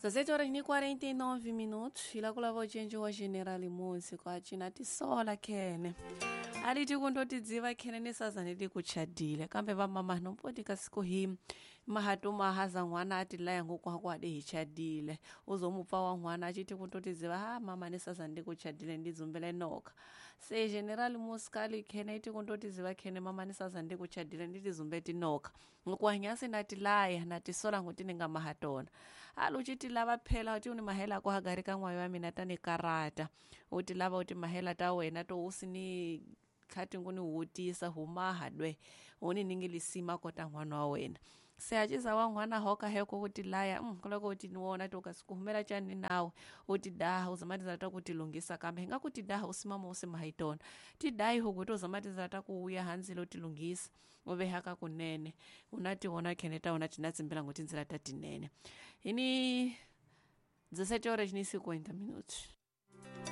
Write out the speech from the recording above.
17 horas ni 49 minutos ilakulava ucenji wa general musi kwacina tisola khene aliti kundotidziva khene nisazane tikuchadile kambe vamama nompoti kasiku hi mahatu mahaza n'wana ati laya ngoku ade hi chadile uzomupfa wa n'wana achiti kundotidziva ha mama nisazane ndikuchadile ndidzumbele noka se general muskali khene iti kundotidziva khene mama nisazane ndikuchadile nditizumbe tinoka ngokuhanyasi natilaya natisola nguti ninga mahatona ali uchiti lava phela uti uni mahela ako hagari ka n'wayo wa mina tani karata uti lava uti mahela ta wena to usini khati nguni wutisa humaha dwe uni ningilisima kota n'wana wa wena se aciza wa n'wana hoka heko kuti laya kuloko uti niwona to kasikuhumela chani nawe uti daha uzamatizala ta kutilungisa kambe hinga kuti daha usimama usimahayitona ti dayi hukuti uzamatizala ta kuuya hanzile utilungisa uvehaka kunene unatiwona khene ta wona tinatsimbela nguti ndzila ta tinene ini 17 horas ni 50 minutos.